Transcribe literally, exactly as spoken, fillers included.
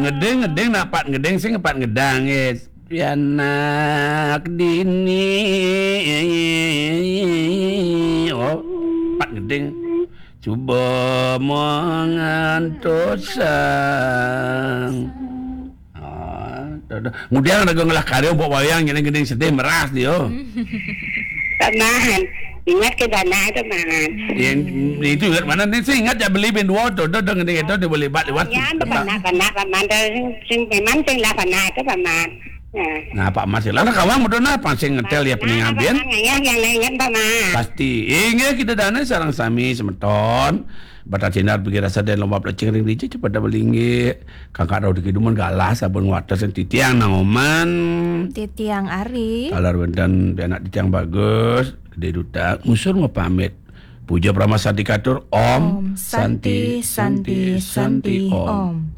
Ngeding, ngeding, nak pat ngeding, sing pat ngedang, eh. Pianak dini. Oh, pat ngeding. Cuba mengantosang. Ah, dah, dah. Ngudiang raga ngelah karya buat wayang, jadi ngeding sedih meras dia. Paman, ingat ke dana tu, Paman. Yang itu ingat mana ni, sih ingat ya beli bin dua tu, dah, dah ngeding itu dia boleh bat lewat. Ya, paman, paman, paman, dah sing, sing, memang sing lah paman tu, Paman. Ya. Nah, Pak Mas, lah kawan mudah nah, pansing ngetel ya peningan bin. Paman, ya, yang lain ingat, Paman. Pasti. Inggih kita dana sarang sami semeton. Bata cindar pergi rasa dan lomba pelecing ring dije cepat dah belinggih. Kakak rau diki dumun galah sabun wates yang titiang nang oman. Titiang Ari. Kalar wenten pianak titiang bagus, di duta ngusur mau pamit. Puja Brahma Santi Katur, Om, Om Santi, Santi, Santi, Om.